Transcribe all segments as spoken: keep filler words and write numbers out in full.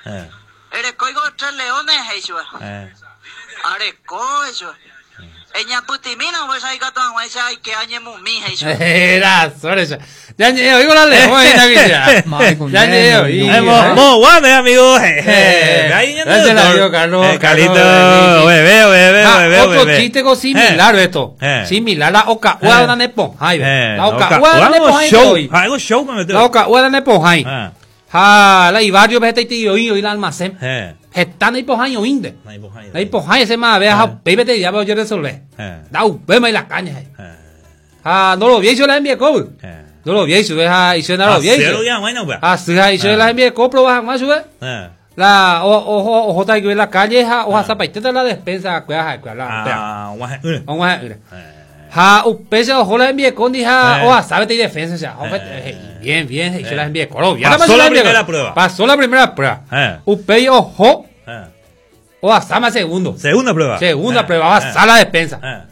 Eh. Erekóiko Tres Leones he'i chupe. Eh. Areko he'i chupe. Eñapytĩmína upéicha ikatu hag̃uáicha aike añemumi he'i chupe. Era, sorry, ya. Ya ñe'ẽ oígo la león ahí, ya. Ya ñe'ẽ oí. Eh, mo, mo, guau, eh, amigo. Eh, Eh, ahí ya gracias, no, amigo Carlos. Eh, Carlito, Carlos, bebé, bebé, Ah, bebé, otro bebé. chiste con similar Eh. esto. Eh. Similar la oca Eh. ua nepo jai. Eh, La oca oca- ua ua, nepo jai show. hoy. Algo show me metió. La oca ua nepo jai. Ah. Ja, la ibarrio vete y oí oí la almacén. Eh. Heta nei pohái oínte. Nei pohái. Nei pohái ese más vea, ja, peibete ya voy a resolver. Eh. Da upema y la caña. eh. Eh. Ja, no lo vi yo la envié co. Eh. No lo vi yo, ja, y yo no lo vi. Cero ya, bueno, pues. Ah, sí, ja, y yo la envié co, proba más sube. Eh. La o ojo ojo ta que la calle ja, oja zapaiteta la despensa, cuea, ja, cuea, la. Ah, guaje. Eh. Vamos a ver. Ja, upese ojo la envié con dija, Eh. oja sabe te defensa, ya. Ojo, Eh. eh, bien, bien, y yo Eh. la envié coro. bien, Pasó yo la envié primera coro. prueba. Pasó la primera prueba. Eh. Upe ojo, Eh. oja sama segundo. Segunda prueba. Segunda Eh. prueba, va Eh. a la despensa. Eh.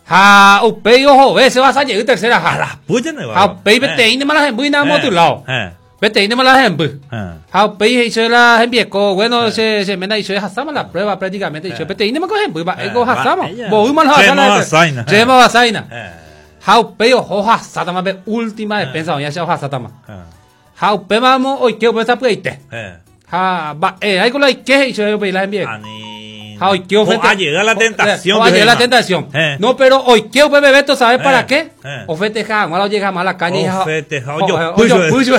Ja, upe ojo, ve, se va a llegar tercera, ja. A las putas no Ja, upe vete inde malas embu y nada más a tu lado. Eh. Vete inde malas embu. Eh. Ja, upe hizo la envié co, bueno, se se mena hizo hasama la prueba prácticamente, hizo vete inde malas embu, va, Eh. ego hasama. Va, ella. Bo mal Chemo hasama. hasaina. Chemo hasaina. Eh. Ja, upe ojo hasata be última despensa, ya se hasata ma. Eh. Ja, upe mamo, hoy que upe está pueite. Eh. Ja, va, eh, ahí con la que hizo yo la envié. Ani. Ja, hoy que O a llegar la tentación. O a llegar la que tentación. Eh. No, pero hoy que upe bebeto, ¿sabes Eh, para qué? eh. O festeja, ahora llega más a la calle. O ja, festeja, o- yo o- puyo. yo puyo.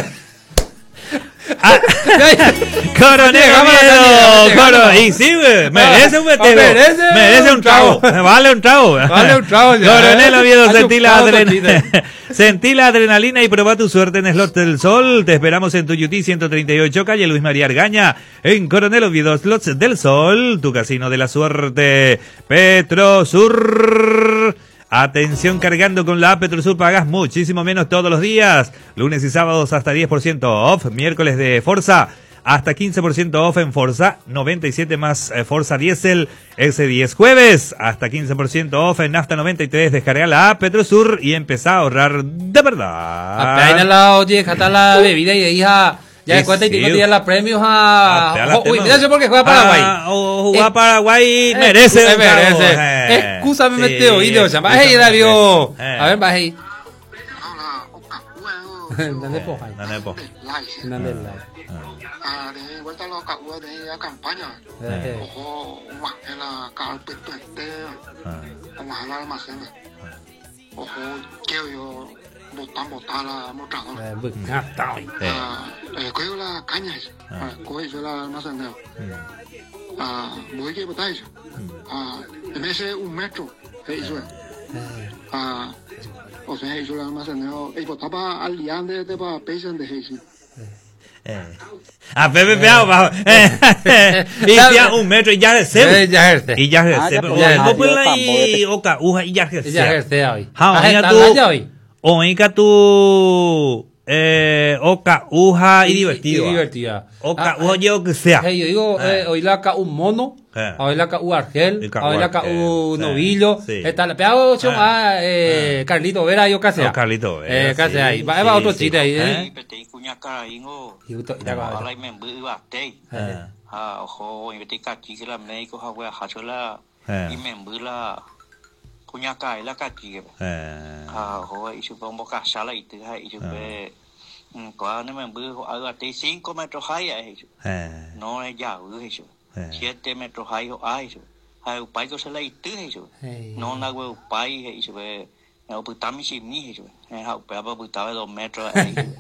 Ah. Coronel Llegamos a la Oviedo, calle, coro- llegamos. Y sí, güey, merece un festejo. Merece Merece un trago. Vale un trago. Vale un trago, ya. Coronel Oviedo, Ha sentí la, chupado adrenalina, totita. sentí la adrenalina y probá tu suerte en Slot del Sol. Te esperamos en Tuyutí ciento treinta y ocho, calle Luis María Argaña, en Coronel Oviedo, Slots del Sol, tu casino de la suerte. Petrosur. Atención, cargando con la app Petrosur pagas muchísimo menos todos los días. Lunes y sábados hasta diez por ciento off, miércoles de Forza hasta quince por ciento off en Forza noventa y siete más, eh, Forza Diesel S diez jueves, hasta quince por ciento off en Nafta noventa y tres. Descarga la app Petrosur y empezá a ahorrar de verdad. Apenas la oye, hasta la bebida y hija. Ya de Sí, cuenta y sí. tengo día la premios a. Apenas la Uy, tema. mira yo porque juega Paraguay. Ah, o juega Eh, Paraguay eh, merece. eh, un trago. merece. Eh, Excúsame, sí, mete oído. O sea, va, hey, David. Eh. A ver, va, hey. Hola, oca, huevo. Dale, po, ahí. Dale, po. Dale, like. Ah, de vuelta a los caguas de la campaña. Eh. Ojo, en la carpeta este, Ah. como al almacén. Ojo, que yo botan, botan la mostrador. Eh, bu- ah, está bien. Eh. Ah, eh, cojo la caña, ah, cojo yo la almacén. Ah, voy que botar eso. Ah, en ese un metro, eh, eso es. Ah, o sea, hizo la almacén, y botaba al liande de pa pesen de eso. Eh. A Pepe Peao, bajo. Eh. Y ya un metro y ya Eh, ya ejerce. Y ya Ah, ejerce. ya, Pero pues, no ya, puede yo la y tampoco. oca, uja, y ya ejerce. Ya ejerce hoy. Ja, Ah, oiga está tú. la hoy. Oiga tú. Eh, oca, uja y divertido. Y divertida. Oca, Ah, uja, yo que sea. Hey, yo digo, Eh. eh, hoy la ca un mono, Eh. hoy la ca un argel, Y ca hoy la ca argel, un sí, novillo. sí. Está la peado Eh. ah, eh, Carlito Vera, yo casi. Oh, Carlito Vera, Eh, casi sí, ahí. Va, sí, va otro sí. chiste ahí. Eh. Eh. Peteĩ kuñakaraíngo Y gusto- y la cabeza. ojalá imemby yvatei. Eh. Ha oho oĩvete ikachíke la médico ha ogueraha la Eh. imemby la kuñakarai la kachíkepe. Eh. Ha oho he'i chupe ombokasa la ity ha he'i chupe ko'ág̃a ne memby ho'a yvatei cinco metros hái ha'e he'i chupe. Eh. No rejavy he'i chupe. Eh. Siete metros hái ho'a he'i chupe. Ha upáiko che la ity he'i chupe. Hey. No nagueupái he'i chupe. Opyta michĩmi he'i chupe. Ha upévape opytave dos metros he'i chupe.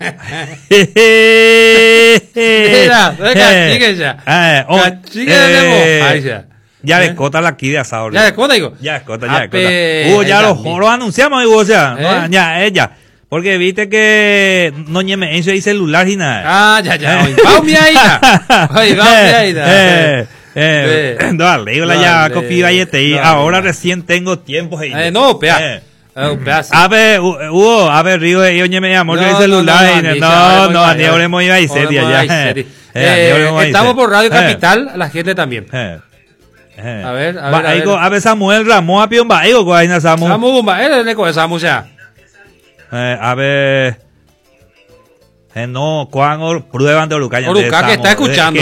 Mira, ve cachique ya. Eh, oh, Cachique de eh, Ay, ya. Ya Eh. le cota la aquí de asado. Ya de cota, digo. Ya escota, ya Ape, escota. Hugo, ya ella lo, misma. lo anunciamos, Hugo, o sea, ¿Eh? no, ya, ella. Porque viste que no ñeme eso y celular y nada. Ah, ya, ya. Hoy va mi ahí. Hoy va mi ahí. Eh, eh, Eh. no, le digo la ya, Dale, cofi, vayete, y dale. ahora recién tengo tiempo. Eh, no, pea. Eh. Eh, pea, sí. A ver, Hugo, a ver, Río, yo ñeme llamó No, el no, celular no, y no, no, no, no, ni ahora hemos ido a Isetia ya. Eh, Eh, ni ahora hemos ido a estamos por Radio Eh. Capital, la gente también. Eh. Eh. A ver, a Ba, ver, a aigo, ver. a ver, Samuel Ramón, a pion, ba, aigo, guayna, Samu. Samu, Bumba, él es de Samu, ya. Eh, a ver. Eh, no, Juan, prueban de Oruca. Oruca que está escuchando. Que